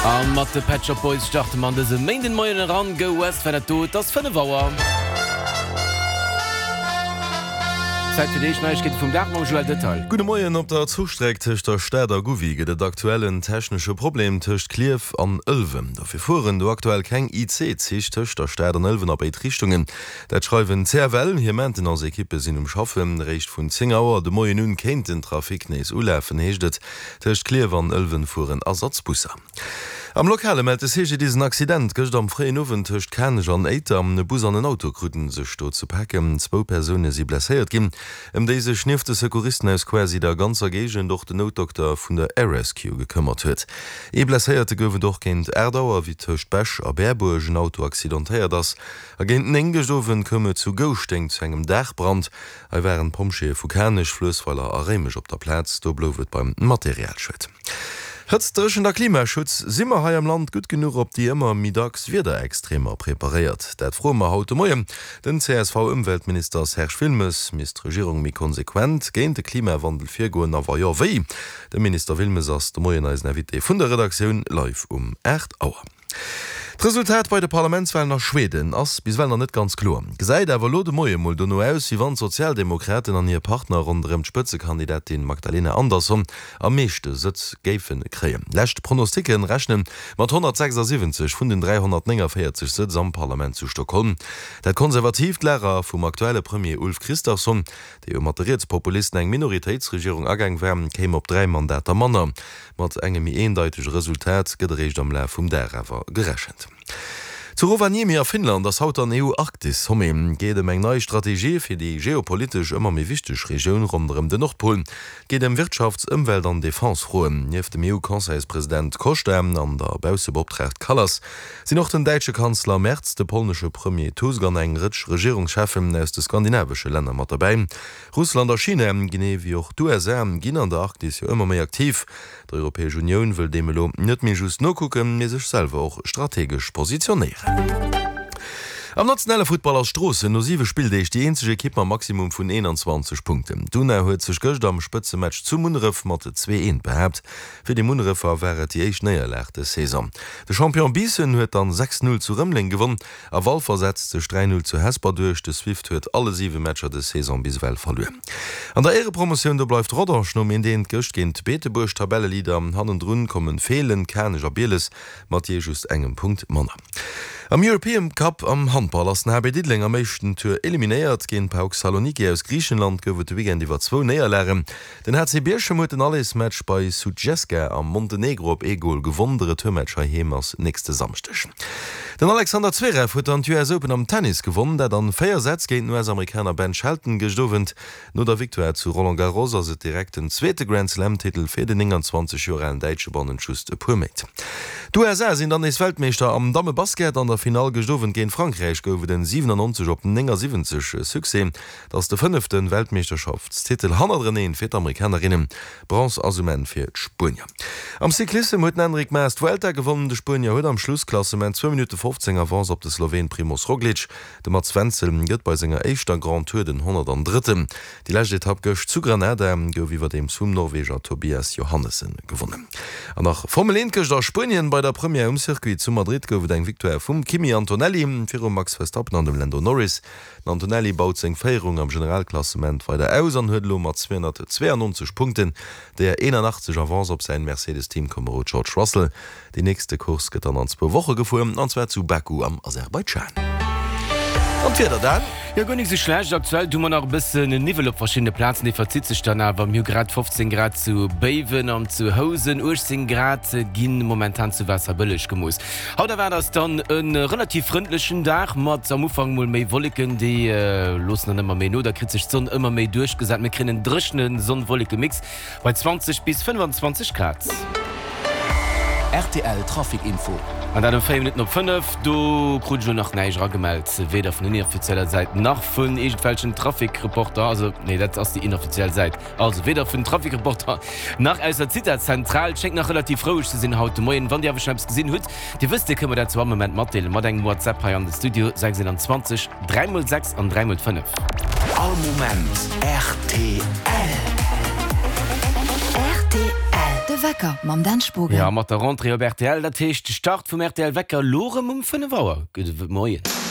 A mat de Pet Shop Boys starte mer an dëse Méindenmoien eran. Go West war dat do. Et ass 5 Auer. Zäit fir déi éischt Neiegkeete vum Dag mam Joël Detail. Gudde Moien, Op der Zuchstreck tëscht der Stad a Gouvy gëtt et aktuell en technesche Problem tëscht Klierf an Ëlwen. Dofir fueren do aktuell keng IC-Zich tëscht der Stad an Ëlwen a béid Richtungen. Dat schreiwen d'CFL. Hir Maintenance-Ekippe sinn um Schaffen. Réischt vun 10 Auer de Moien un kéint den Trafic nees ulafen, heescht et. Tëscht Klierf an Ëlwen fueren Ersatzbusser. Am Lokale mellt de CGDIS en Accident gëscht am fréien Owend tëscht Kanech an Éiter. E Bus an en Auto kruten sech do ze paken. Zwou Persoune si blesséiert ginn, ëm déi sech nieft de Secouristen aus quasi der ganzer Géigend och den Noutdokter vun der Air Rescue gekëmmert huet. Ee Blesséierte gouf et och géint 8 Auer, wéi tëscht Bech a Berbuerg en Auto accidentéiert ass. A géint 9 gëscht Owend koum et zu Gouschteng zu engem Daachbrand. Hei waren d'Pompjeeë vu Kanech, Fluessweiler a Réimech op der Plaz. Do blouf et beim Materialschued. Hëtzt, Dréchent a Klimaschutz, Si mer hei am Land gutt genuch op déi ëmmer méi dacks Wiederextremer preparéiert? Dat froe mer haut de Moien den CSV-Ëmweltminister Serge Wilmes. Misst d'Regierung méi konsequent géint de Klimawandel virgoen a wa jo, wéi? De Minister Wilmes ass de Moien eisen Invité vun der Redaktioun live um 8 Auer. D'Resultat bei de Parlamentswalen a Schweden ass bis ewell nach net ganz kloer, gesäit awer elo de Moie mol dono aus, wéi wann d'Sozialdemokraten an hir Partner ronderëm d'Spëtzekandidatin Magdalena Andersson am meeschte Sëtz géife kréien. Lescht Pronosticke rechne mat 176 vun den 349 Sëtz am Parlament zu Stockholm. Dat konservatiivt Lager vum aktuelle Premier Ulf Kristersson, dee jo mat de Rietspopulisten eng Minoritéitsregierung agaang war, kéim op 3 Mandater manner. Mat engem méi eendeitege Resultat gëtt eréischt am Laf vum Dag awer gerechent. Zu Rovaniemi a Finnland ass haut dann EU-Arktis-Sommet. Geet ëm eng nei Strategie fir déi geopolitesch ëmmer méi wichteg Regioun ronderëm den Nordpol. Geet ëm Wirtschafts-, Ëmwelt an Defense-Froen. Nieft dem EU-Conseilspresident Costa an der Baussebeoptraagt Kallas sinn och den däitsche Kanzler Merz, de polnesche Premier Tusk an eng Rëtsch Regierungscheffen aus de skandinavesche Länner mat derbäi. Russland a China, genee wéi och d'USA, ginn an der Arktis jo ëmmer méi aktiv. D'Europäesch Unioun wëll deem elo net méi just nokucken, mee sech selwer och strategesch positionéieren. Am nationale Futtball ass Stroossen no 7 Spilldeeg déi eenzeg Ekipp mam Maximum vun 21 Punkten. D'Una huet sech gëscht am Spëtzematch zu Munneref mat 2, 1 behaapt. Fir déi Munnerefer war et déi éischt Néierlag dës Saison. De Champion Biissen huet dann 6, 0 zu Rëmeleng gewonn. A Walfer setzt sech 3, 0 zu Hesper duerch. De Swift huet alle 7 Matcher des Saison bis ewell verluer. An der Éierepromotioun do bleift Rodange nom 1 1 gëscht géint Beetebuerg Tabelleleader. Hannendrun kommen Feelen, Kanech a Bieles mat jee just engem Punkt manner. Am European Cup am Handball ass den HB Diddeleng am éischten Tour eliminéiert. Géint PAOK Saloniki aus Griichenland gouf et de Weekend iwwer zwou Néierlagen. Den HC Bierchem huet den Allersmatch bei Sutjeska am Montenegro op ee Gol gewonn. De Retourmatch heiheem ass nächste Samschdeg. Den Alexander Zverev huet dann d'US Open am Tennis gewonn, dat an 4 Sätz géint den US-Amerikaner Ben Shelton gëscht Owend. No der Victoire zu Roland Garros ass et direkt den zweete Grand-Slam-Titel fir den 29 Joer alen Däitsche bannent just e puer Méint. D'USA sinn dann nees Weltmeeschter am Dammebasket. An der Finall gëscht Owend géint Frankräich gouf et en 97 op 79 Succès. Et ass de fënnefte Weltmeeschterschaftstitel hannerteneen fir d'Amerikanerinnen. Bronze ass um Enn fir d'Spuenier. Am Cyclissem huet den Enric Mas d'Vuelta gewonnen. De Spuenier huet am Schlussklassement zwou Minutte 15 Avance op de Sloween Primoz Roglic. De Mats Wenzel gëtt bei senger éischter Grand Tour den 103. Déi lescht Etapp gëscht zu Granada gouf iwwerdeems vum Norweger Tobias Johannessen gewonnen. An nach Formel 1 gëscht a Spuenien. Bei der Première um Circuit zu Madrid gouf et eng Victoire vum Kimi Antonelli virum Max Verstappen an dem Lando Norris. Den Antonelli baut seng Féierung am Generalklassement weider aus an huet elo mat 292 Punkten der 81 Avance op säin Mercedes-Teamkomerod George Russell. Déi nächste Course gëtt dann an zwou Woche gefuer, an zwar zu Baku am Aserbaidschan. An d'Wieder dann? Jo, guer nik sou schlecht. Aktuell hu mer nach e bëssen Niwwel op verschiddene Plazen, dee verzitt sech dann awer. Mir hu grad 15 Grad zu Béiwen an zu Housen, 18 Grad gi momentan zu Waasserbëlleg gemooss. Haut erwaart eis dann e relativ frëndlechen Dag mat am Ufank mol méi Wolleken, déi loossen dann ëmmer méi no, da kritt sech d'Sonn ëmmer méi duerchgesat. Mir kréien en dréchene Sonn-Wolleke-Mix bei 20 bis 25 Grad. Rtl Trafic Info. An dat um 4 Minutten op 5. Do krut ech elo nach näischt eragemellt, weder vun inoffizieller Säit nach vun iergendwelchen Trafic-Reporter. Also nee, dat ass déi inoffiziell Säit. Also weder vun Trafikreporter nach aus der Zitazentral. Et schéngt nach relativ roueg ze sinn haut de Moien. Wann Dir awer schonn eppes gesinn hutt, Dir wësst, Dir kënnt mer dat zu all Moment matdeelen mat engem WhatsApp hei an de Studio 621 3 mol 6 an 3 mol 5. All Moment rtl. Rtl. De Wecker mam Dan Spogen. Jo, mat der Rentrée op rtl, dat heescht de Start vum rtl Wecker elo rëm um 5 Auer. Gudde Moien.